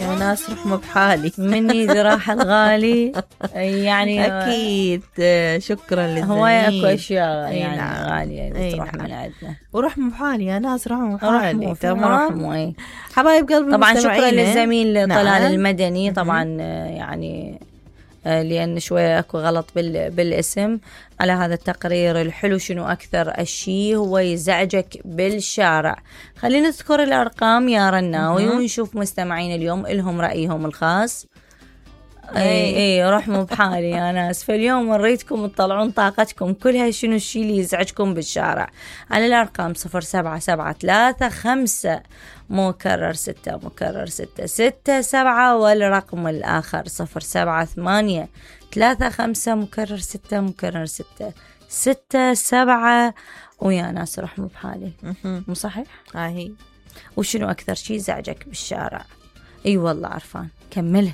يا ناس رحمة بحالي مني ذراح الغالي يعني أكيد. شكرا للزميل. هواية أكو أشياء يعني نعم. غالية اللي تروح من عندنا. ورحمة بحالي يا ناس، رحمة بحالي. تمام. حبايب قلبي طبعا شكرا للزميل طلال نعم. المدني طبعا يعني لأن شوية أكو غلط بالاسم على هذا التقرير الحلو. شنو أكثر الشيء هو يزعجك بالشارع؟ خلينا نذكر الأرقام يا رناوي ونشوف مستمعين اليوم إلهم رأيهم الخاص. اي رحموا بحالي يا ناس. فاليوم نريدكم تطلعون طاقتكم كلها. شنو الشيء اللي يزعجكم بالشارع؟ على الأرقام 0773 مكرر 6 مكرر 6 6 7 والرقم الآخر 078 35 مكرر 6 مكرر 6 6 7. ويا ناس رحموا بحالي. مو صحيح؟ هاي. وشنو أكثر شيء يزعجك بالشارع؟ اي والله عرفان. كمله.